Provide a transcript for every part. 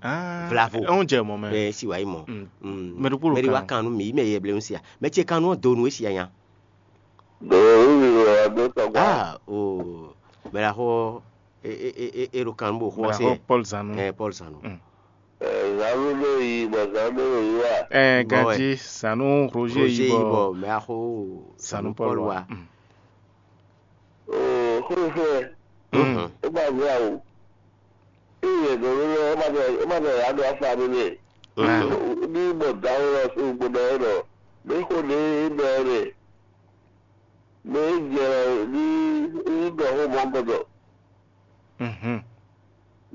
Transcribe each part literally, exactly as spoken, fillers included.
Ah, Vlavo. É ń jɛ mɔ̌ mɛ. Ɛ si wǎ yi mɔ. Mm. Mm. Mɛ ɖokpó ɖo Mɛ ɖé wá kan. Kan nú mǐ, mɛ yɛ blɛ́ ń sia. Mɛ ce kan nú ɔ́ do nǔ é sia nya. Ɖo wíwí wɛ wá dó tɔgbà. Ah, o. Mɛ ɖaxó ɔ́, é é é é é ɖo kan nú bó xó Mɛ ɔ́ se. Ɖaxó Paul Zanu. Ɛ Paul Zanu. Mm. Ɛ, Zanu ɖo yi bɔ Zanu ɖo yi wá. Ɛ Bɔ wɛ. Ganji Zanu Roger Roger yi yi bɔ bɔ mɛ ɖaxó Zanu Paul wá. Mm. Oo, xwéfwɛ. Mhm. É ma zé awu. Ée yɛ dǒ ɖó lɛ́ɛ, é ma ɖɔ é ma ɖɔ yǎ ɖo afá ɖé nɛ́. Mhm. Ní bɔ dǎwe ɔ́ sukpɔ ɖɔ é ɖɔ, mɛ xo ɖě é ɖɔ é nɛ́. Mɛ é jɛ ní ní ɖɔ xó mɔ̌ gbɔdɔ, Mhm.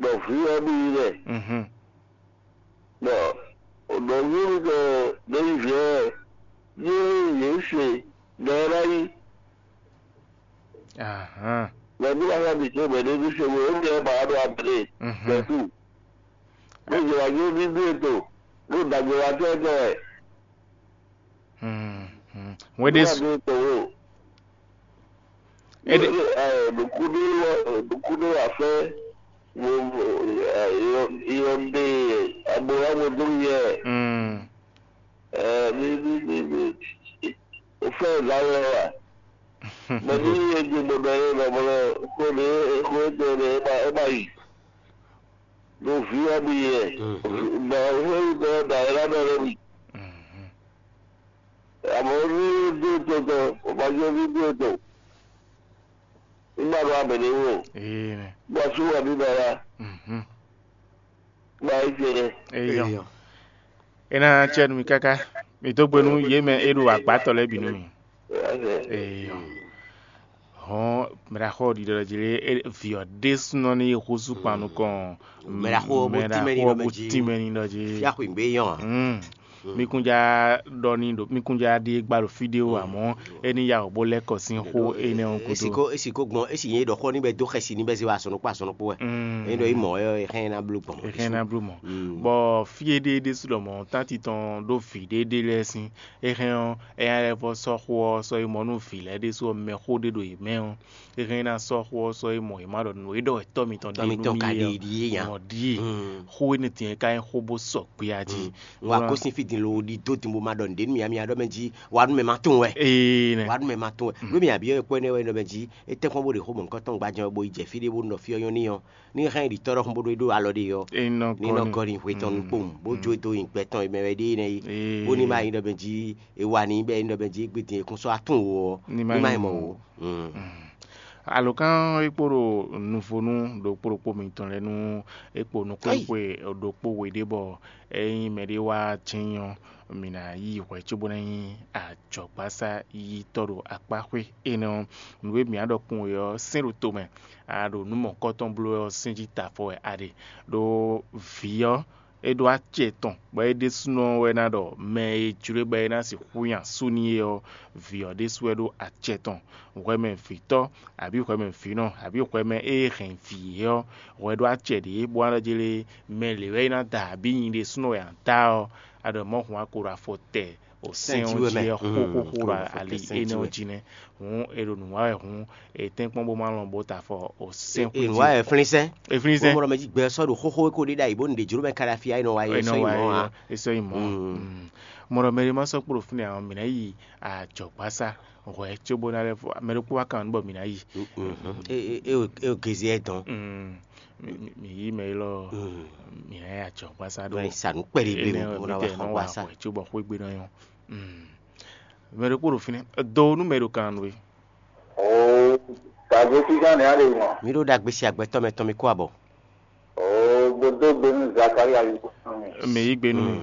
Bɔ vǐ ɔ́ ɖi yi nɛ́. Mhm. Bɔ nɔví mitɔn ɖěbǔ ɔ́, yě yě se nɔ ɔ́ ná yí. Ahán. Mɛ ní wá xá ɖi cé mɛ ɖé ní se mɛ énɛ́ ba wá ɖo abǐ ɖe Mhm. Bɛ́tú. Ní zɔ wá yó ní dó ètò, ní dagbe wá tɛ́ tɛ́ wɛ. Hmm, hmm. Wɛn ɖé Ní wá dó ètò wò. Éɖe Ní ɛ nukúnú wá nukúnú wá fɛ́ mo mo ɛ yɔ yɔ ɖe abo wá mo dó yɛ. Hmm. Ɛ ní ní ní ní o fɛ́ la wɛ wa. Mɛ ní yé dzi mo ɖɔ yé lɔ mo lɔ xó ɖé xó ɖé ɖé é ma é ma yi. Ɖo vǐ ɔ́ ɖi yɛ. Mhm. Bɔ xó yi ɖɔ ɖa é la ɖɔ lɛ mi. Mhm. Àmọ́ ní dó tɔtɔ, ò ma jẹ́ ní dó tɔ. Nígbà tó wà bẹ̀rẹ̀ wò, Ee nɛ. Bó a sú wà ní dara, Mhm. Bó a yí jẹ rẹ. Eyɔ. Eyɔ. Ena cɛ nu mi kaka. Mi dó gbe nú yě mɛ e ɖo agbátɔ lɛ́ɛ bǐ nú mi. Eyɔ. Hɔn mɛɖaxɔ ɖiɖɔ jí lé, vǐ ɔ́ ɖésúnɔ ní yi xúsú kpan nukɔn. Mɛɖaxó ɔ́ bó tínmɛ ní ɖɔ mɛ jí. Tínmɛ ní ɖɔ jí. Fia xwǐgbe yɔn a? Mm. Mi kún já ɖɔ ní ɖo mi kún já ɖi gba ɖo fídíò amɔ̌ é ní ya wǒ bó lɛ́ kɔ sín xó énɛ́ ɔ́ gúdo. Esi ko esi nyɛ ɖɔ xɔ ní bɛ dó xɛsi ní bɛ zé wa asɔnukpó asɔnukpó wɛ. Mm. Ényí ɖɔ yi mɔ ɛ xɛ ná bló gbɔn. Ɛ xɛ ná bló mɔ. Mm. Bɔ fí e ɖe ɖésú ɖɔ mɔ tánti tɔn ɖó vǐ ɖé ɖé lɛ́ɛ sín é xɛ ɔ́ ɛ nya lɛ́ vɔ sɔ́ xó ɔ́ sɔ́ yi mɔ nú vǐ lɛ́ɛ ɖésú ɔ́ mɛ xó ɖé ɖo yě mɛ ɔ́ é xɛ ná sɔ́ xó ɔ́ sɔ́ yi mɔ yě má ɖɔ nǔ e ɖɔ wɛ tɔ́ mitɔn ɖe Tɔ́ nú mitɔn mì ka é ɖe ɔ́ ɖíe nya. Mɔ ɖíe. Mm. Xó énɛ́ din é ka nyí xó bó sɔgbe a jí. Mm. Wá kó sín fí din lo ɖi dó din bó ma ɖɔ nǔɖé nú mì amì aɖɔ mɛ jí wá nú mɛ ma tún wɛ. Ee nɛ. Wá nú mɛ ma tún wɛ. Mm. Nú mì abiyɔ e kpɔ́ énɛ́ wɛ nɔ mɛ jí é tɛ́ kpɔ́n bó ɖe xó mɔ̌hunkɔtɔn gbajɛ bo yi jɛ fí ɖé bó nɔ fí ɔ́ nyɔ́ n'i ɔ́ ní hɛn ɖi tɔ́ ɖɔhun bó ɖó é ɖó alɔ ɖé ɔ́. Ní nɔ gɔ́ ní hwetɔn nukpowun bó jó dó nyi gbɛtɔn e mɛ wɛ ɖe énɛ́ é. Bó ní ma nyí ɖɔ mɛ jí é wá ní bɛ é ní ɖɔ mɛ jí é gbé din é kún sɔ́ atún wǒ ɔ́ ní ma nyí mɔ wǒ. Mm. Alǒkan é kpo ɖo nuvonu ɖokpó ɖokpó mitɔn lɛ́ɛ nú é kpo nukúnxwe ɖokpó we ɖé bɔ é nyí mɛɖé wá jɛ́n ɔ́, mǐ ná yí hwɛ̌ cóbó ná nyí ajɔ̌gbásá yítɔ́ ɖo akpáxwé énɛ́ ɔ́. Nǔ e mǐ á ɖɔ kpowun é ɔ́, sɛ́n ɖo tomɛ, a ɖo nǔ mɔ̌hunkɔtɔn bló wɛ ɔ́, sɛ́n jí ta afɔ wɛ a ɖe. Ɖó vǐ ɔ́, é ɖó acɛ tɔn, bɔ é ɖésúnɔ wɛ ná ɖɔ mɛ e jló e bɔ é ná sixú nyi asú n'i é ɔ́, vǐ ɔ́ ɖésú wɛ ɖó acɛ tɔn. Hwɛmɛ vǐtɔ́, abǐ hwɛmɛ vǐnɔ, abǐ hwɛmɛ e hɛn vǐ é ɔ́, hwɛ ɖó acɛ ɖě bó wá nɔ jlé mɛ lě wɛ é ná da abǐ nyi ɖésúnɔ wɛ a da ɔ́, a ɖɔ mɔ̌ hun wá ko ɖo afɔ tɛ o sɛ́n ɔ́ jí wɛ xóxóxó ɖo ali énɛ́ ɔ́ jí nɛ́. Hǔn è ɖo nǔ wa wɛ hǔn è tɛ́n kpɔ́n bó má lɔn bó ta afɔ o sɛ́n xwé jí. È nǔ wa wɛ flínsɛ́n. È flínsɛ́n. Mɔɖɔ mɛ jí gbɛ sɔ́ ɖo xóxó é ko ɖé ɖ'ayǐ bó nu ɖě jló mɛ ka ɖo afia é nɔ wa é sɔ́ yi mɔ̌ ǎ. É sɔ́ yi mɔ̌. Mɔɖɔ mɛ ɖé má sɔ́ kpo ɖo fínɛ́ ǎ, mǐ ná yi ajɔ̌gbásá hwɛ̌ cóbó ná lɛ́ fɔ mɛ ɖokpó wá kan nǔ bɔ mǐ ná yi. É é é gězé ɛ dɔn. Mǐ yí mɛ élɔ́ mǐ ná yi ajɔ̌gbásá ɖó. Sa nǔ kpɛɖé blé mɔ bó ná wa xɔ gbásá. Hwɛ̌ cóbɔ xwé gbe ná nyɔ́. Mɛ ɖokpó ɖo fínɛ́ do nú mɛ ɖo kan nú we. Oo, tagbe fígán nɛ́ á ɖe mɔ. Mi ɖó ɖagbe si agbɛtɔ́ mɛ tɔn mi kó abɔ. Oo, gbódó gbénú Zakaria yí kó sán mi. Mɛ yí gbénú mi.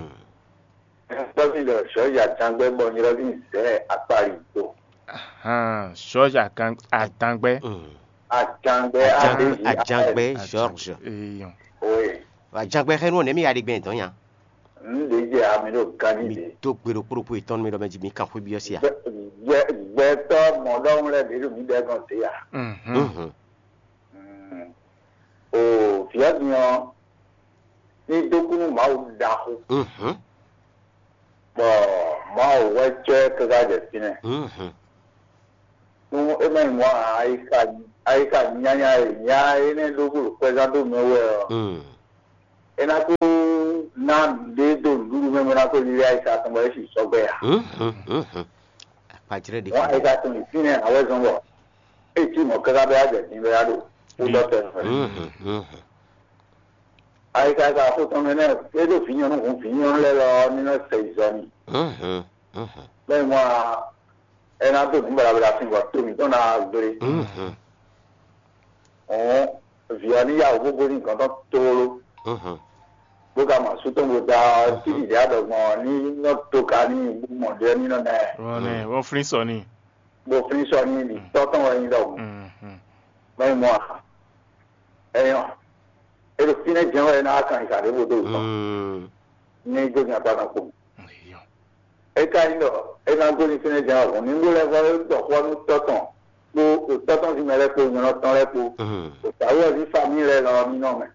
Tɔ́ví ɖɔ sɔ̌ja tangbɛ́ bɔ nyrɔ́ví zɛ akpali do. Ahan, sɔ̌ja atangbɛ́. Atangbɛ́ Ajan- aɖeji Ajangbɛ George. Eyɔn. Oye. Ajangbɛ xɛnu ɔ́ nɛ̌ mi ya ɖe gbɛn dɔn nya? N ɖe jɛ ami ɖo ganni Mi ɖe. Do gbe ɖokpó ɖokpó yětɔn nú mi ɖɔ mɛ jí mi kan xwé byɔ́ sí a? Gbɛ- gbɛ- Gbɛtɔ́ mɔɖɔŋu lɛ́ɛ ɖě ɖo mí ɖɛ gɔn dě a? Mhm. Mm. O viɔ́ din ɔ́, ní dó kú nú Mawu ɖaxó, Mhm. Bɔ Mawu wɛ cɔ́ ɛ káká jɛ fínɛ́. Mhm. Nú é má nyí mɔ̌ ǎ, ayixa ayixa nyanya e nya énɛ́ ɖó bó ɖo kwɛzán dó mɛ wɛ ɔ́, Mm. É ná kó ná ɖě dó nǔɖuɖu mɛ bó ná kó lílé ayisa tɔn bɔ é sì sɔgbɛ ǎ. Mhm, mhm. Akpajrɛ́ ɖé Wọ́n kan. Ayisa tɔn yìí fínɛ́ àwẹ́ zɔn bɔ é cí mɔ̌ káká bɛ á jɛ dín bɛ á ɖo kúdɔ́tɛ nɔ. Mhm, mhm. Ayika ka xó tɔn mɛ nɛ é ɖo vǐ nyɔ̌nu hǔn vǐ nyɔ̌nu lɛ́ɛ lɔ ní nɔ sɛ izɔ n'i. Mhm, mhm. Bɛ́ mɔ ɛ ná dó nǔ baɖabaɖa sin bɔ to mǐtɔn ná gblé. Mhm, Hǔn vǐ ɔ́ ní yá wǔ bó gosín gɔ̌n tɔn tlóló, mhm. Bó ka mɔ asú tɔn bó da ɔ́, títí dě adɔgbɔn ɔ́ ní nɔ to ka ní bó mɔ ɖě ní nɔ nɛ Wọ́n ní wọ́n flín sɔ ní. Bó flín sɔ ní ɖi tɔ́ tɔn wɛ nyí ɖɔhun. Mhm. Mɛ mɔ a? Ɛyɔ, é ɖo fínɛ́ jɛ́n wɛ é ná wá kan ìkà ɖěvo dó wǔ tɔn. Mm. Ní gbégbé akpá kan kpo. Eyɔ. É ka nyí ɖɔ é ná gosín fínɛ́ jɛ́n wɛ hǔn ní bó lɛ́ vɔ é ɖɔ xó ɔ́ nú tɔ́ tɔn kpó tɔ́ tɔn sín mɛ lɛ́ɛ kpó nyɔ̌nɔ tɔn lɛ́ɛ kpó. Mhm. Ɖo tǎwú ɔ́ sín famíli lɛ́ɛ lɔ ɔ́ ní nɔ mɛ.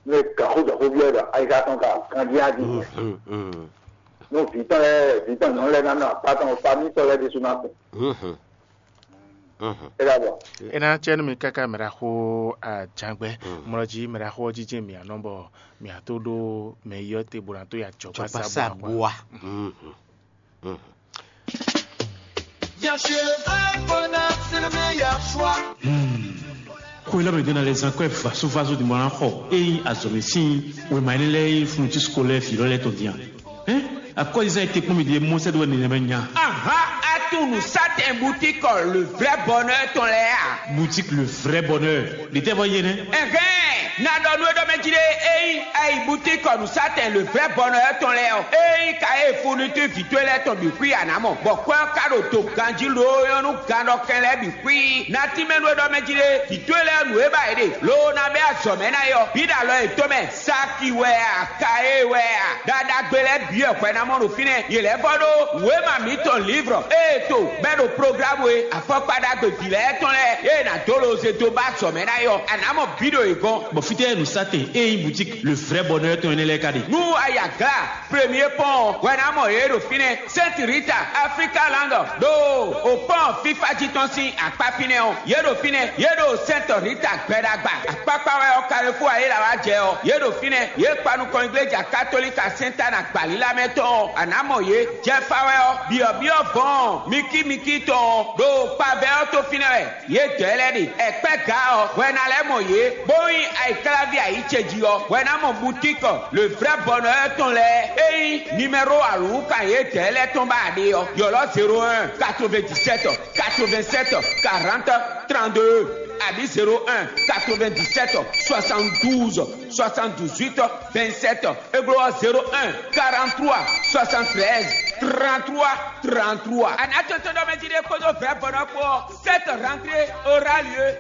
Nú è kan xó jɔ xó byɔ́ ɖɔ ayika tɔn ka kan dín adi. Mhm, mhm. Nú vǐ tɔn lɛ́ɛ vǐ tɔn nyɔ̌nu lɛ́ɛ ná nɔ akpá tɔn famíli tɔn lɛ́ɛ ɖésú ná kun. Mhm, mhm. É ɖa bɔ É ná cɛ nú mi káká mɛ ɖaxó ajangbɛ. Mm. Mlɔ jí mɛ ɖaxó ɔ́ jínjɛ́n mǐ anɔ bɔ mǐ ató ɖó mɛ yɔ́ te bó ná tó ya jɔ Jɔkpásá gbasa bua. Mhm, mhm. Bien sûr, un bonheur, c'est le meilleur choix. Xwé lɔ mɛ ɖó ná lɛ́ zán kɔ́ ɛ vasovaso din bɔ ná xɔ é nyí azɔ̌mɛ sín wěma énɛ́ lɛ́ɛ e funu cí sukó lɛ́ɛ vǐ lɔ lɛ́ɛ tɔn din a? Hɛn, akɔ́zizán e te kpɔ́n mi ɖe mɔ sɛ́ dó wɛ nɛnɛmɛ nya. Ahán, atunu satɛn butikɔ le vrai bonheur tɔn lɛ́ɛ a? Boutique le vrai bonheur. Ɖe tɛ vɔ yé nɛ? Ɛhɛn, na ɖɔ nú é ɖɔ mɛ jí ɖé, ényí ayi butikɔ nu satɛn le vrai bonheur tɔn lɛ́ɛ ɔ́, ényí ka e funitú vǐ towe lɛ́ɛ tɔn bǐ xwí a nǎ mɔ, bɔ kwɛ́ ɔ́ ka ɖo do ganjí loo nyɔ́ nú gannɔkɛn lɛ́ɛ bǐ xwí. Na tínmɛ nú é ɖɔ mɛ jí ɖé, vǐ towe lɛ́ɛ nǔ e ba yě ɖe, loo ná bɛ́ azɔ̌ mɛ ná é ɔ́, bǐ ɖo alɔ yětɔn mɛ. Saki wɛ a, Kaye wɛ a, ɖaɖagbe lɛ́ɛ bǐ wɛ hwɛ ná mɔ ɖo fínɛ́. Yě lɛ́ vɔ ɖó wěma mǐtɔn lǐvrɔ ée to bɛ́ ɖo programu e afɔkpa ɖagbe vǐ lɛ́ɛ tɔn lɛ́ɛ ée nǎ dó loze dó ba azɔ̌ mɛ ná é ɔ́, a nǎ mɔ bǐ ɖo yě gɔ́n. Bɔ fítɛ́ nǔsatɛn e nyí boutique le vrai bonheur tɔn énɛ́ lɛ́ɛ ka ɖe? Nú a yi Agla Premier Pɔ́n ɔ́, hwɛ ná mɔ yě ɖo fínɛ́. Sainte Rita, Africa Land, ɖo o pɔ́n fífá jí tɔn sín akpá fínɛ́ ɔ́, yě ɖo fínɛ́, yě ɖo Sainte Rita gbɛɖagba. Akpákpá wɛ ɔ́, Carrefour ayéla wá jɛ ɔ́, yě ɖo fínɛ́, yě kpa nukɔn igleja katolika Sainte Anne agbalílá mɛ tɔn ɔ́, a nǎ mɔ yě. Jɛfa wɛ ɔ́, byɔ̌byɔ́ vɔ̌ɔn mikímikí tɔn ɔ́, ɖo kpavɛ ɔ́ tó fínɛ́ wɛ. Yědɛɛ lɛ́ɛ ɖe ɛkpɛ́ ga ɔ́, hwɛ ná lɛ́ mɔ yě, bó nyí ayǐkláví ayǐ ce jí ɔ́, hwɛ ná mɔ butíkɔ le vrɛ́ bɔnɔ ɔ́ tɔn lɛ́ɛ. É nyí nimɛ́ro alǔwúkan yědɛɛ lɛ́ɛ tɔn ba ɖe ɔ́, ylɔ́ zéro un, quatre-vingt-dix-sept, quatre-vingt-sept, quarante, trente-deux, abǐ zéro un, quatre-vingt-dix-sept, soixante-douze, soixante-dix-huit, vingt-sept. É bló ɔ́, zéro un, quarante-trois, soixante-treize, trente-trois, trente-trois. Anatɔtɔ́nɔmɛjí ɖé kpódó vɛ̌vɔ́nɔ kpó ɔ́, cette rentrée aura lieu